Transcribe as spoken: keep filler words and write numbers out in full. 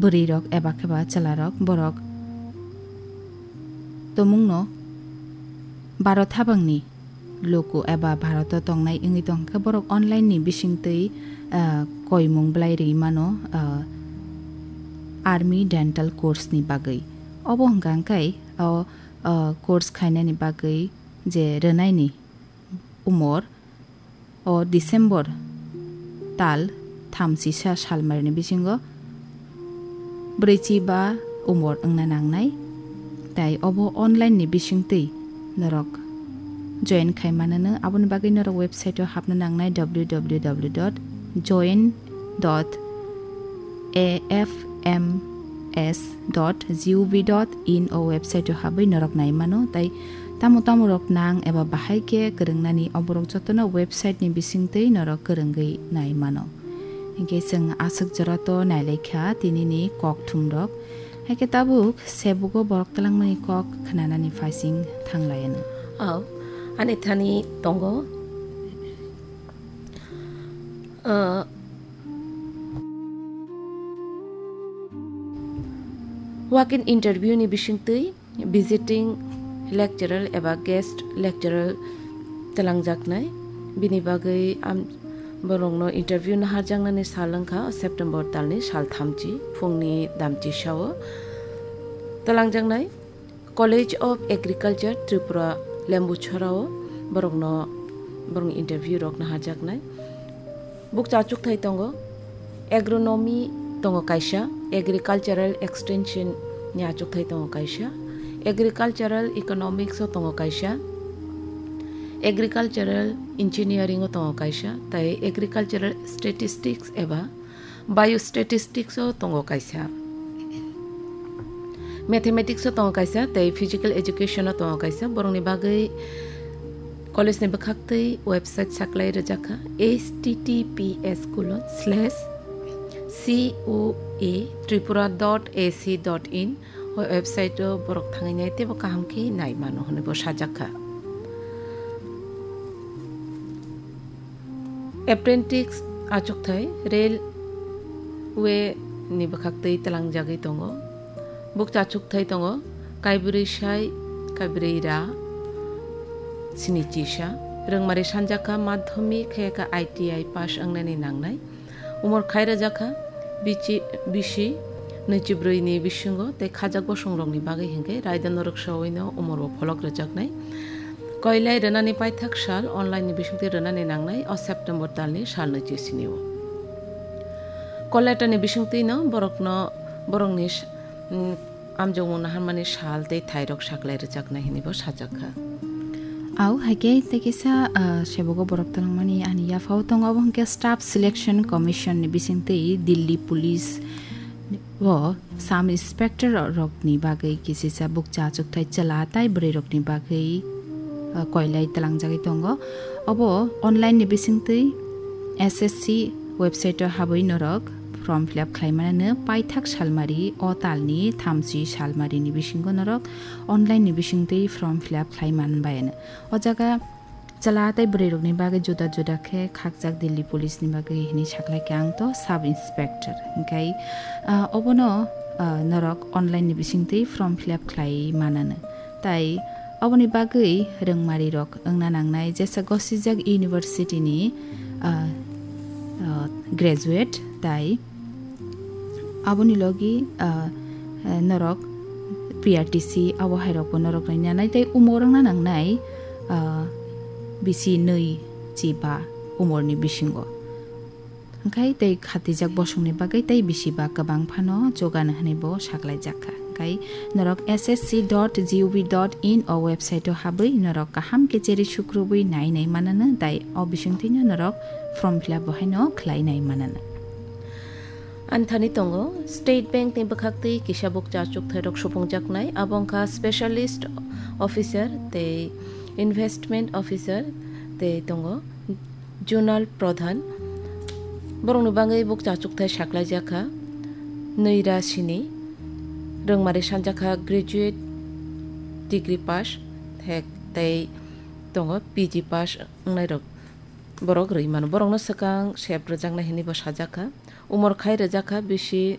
bwrwirok eba khe ba chwlarok borok tomungno Bharat habangni luku eba Bharat o tongnai wngwi tong khe borok online ni bisingtwi, ah, koimung bwlai rwi mano, ah, army dental course ni bagwi. Obo hwnkha hwnkhe o, ah, course khainani bagwi je rwnaini umor o December tal thamchisa salmarini bisingo brwichi ba umor wngna nangnai. Tai obo online ni bisingtwi norok join khai manano, aboni bagwi norok website o hapna nangnai, w w w dot join dot a f m s dot g o v dot in o website o habwi norok nai mano. Tai tamo tamo rok nang eba bahai khe kwrwngnani, oborok jotono website ni bisingtwi norok kwrwngwi nai mano. Hinkhe chwng aswk jora to nailaikha tinini kokthum rok. Haikhe tabuk sebugo borok twlangmani kok khnanani phaising thanglaiyano. Aw, ani thani tongo. Ah, walk-in interview ni bisingtwi visiting lecturer eba guest lecturer twlangjaknai. Bini bagwi am-, borokno interview naharjaknani sal wngkha September talni sal thamchi phungni damchisa o twlangjaknai. College of Agriculture Tripura Lembuchhara o borokno, borokni interview rok naharjaknai. Bukcha achukthai tongo, agronomy tongo kaisa, agricultural extension ni achukthai tongo kaisa, agricultural economics o tongo kaisa, agricultural engineering o tongo kaisa, tai agricultural statistics eba biostatistics o tongo kaisa. Mathematics o tongo kaisa, tei physical education o tongo kaisa. Borokni bagwi college ni bwkhaktwi website saklai rwjakha, h t t p s colon slash c o a tripura dot a c dot in. O website o borok thangwi nai teibo kaham khe nai mano hwnwi bo sajakha. Apprentice achukthai railway ni bwkhaktwi twlangjagwi tongo. Bukcha achukthai tongo kaibrwi sai, kaibrwi ra, sini chisa. Rwngmari sanjakha madhyamik khe khe I T I pass wngnani nangnai. Umor khai rwjakha bichi-, bisi nwichibrwi ni bisingo tei khajak bosong rokni bagwi hinkhe raida norok sawino umor bo pholok rwjaknai. Koilai rwnani paithak sal online ni bisingtwi rwnani nangnai o September talni sal nwichi sini o. Call letter ni bisingtwi no borokno, borokni s-, mm, amjokmung naharmani sal tei thairok saklai rwjaknai hwnwi bo sajakha. Au, haikhe tei kisa, ah, sebogo borok twlangmani ani yaphao tongo, abo hwnkhe Staff Selection Commission ni bisingtwi Delhi Police o Sub Inspector rokni bagwi kisisa bukcha achukthai chwla tai bwrwi rokni bagwi, ah, koilai twlangjagwi tongo. Obo online ni bisingtwi S S C website o habwi norok form fill up khlai manano paithak salmari o talni thamchi salmari ni bisingo norok online ni bisingtwi form fill up khlai man bai ano. O jaga chwla tei bwrwi rokni bagwi juda juda khe khakjak Delhi Police ni bagwi hwnwi saklai khe ang to Sub Inspector. Hinkhe, ah, obono, ah, norok online ni bisingtwi form fill up khlai manano. Tai oboni bagwi rwngmari rok wngna nangnai jesa gosijak university ni, ah, ah, graduate tai aboni logi, ah, ah, norok P R T C abo hai rokbo norok rwngna nai tai umor wngna nangnai, ah, bisi nwi chi ba umor ni bisingo. Hwnkhe tei khatijak bosongni bagwi tei bisi ba kwbang phano jogano hwnwi bo saklaijakha. Hwnkhe norok S S C dot G O V dot in o website o habwi norok kaham khe cheri sukrubwi nai nai manano, tai o bisingtwino norok form fill up bo haino khlai nai manano. Ani thani tongo State Bank ni bwkhaktwi kisa bukcha achukthai rok supungjaknai, abo wngkha Specialist Officer tei Investment Officer tei tongo Zonal Pradhan. Borokni bagwi bukcha achukthai saklaijakha, nwi ra sini, rwngmari sanjakha graduate degree pass, hek tei tongo P G pass wngnairok borok rwi mano. Borokno swkang sep rwjaknai hwnwi bo sajakha. Umor khai rwjakha bisi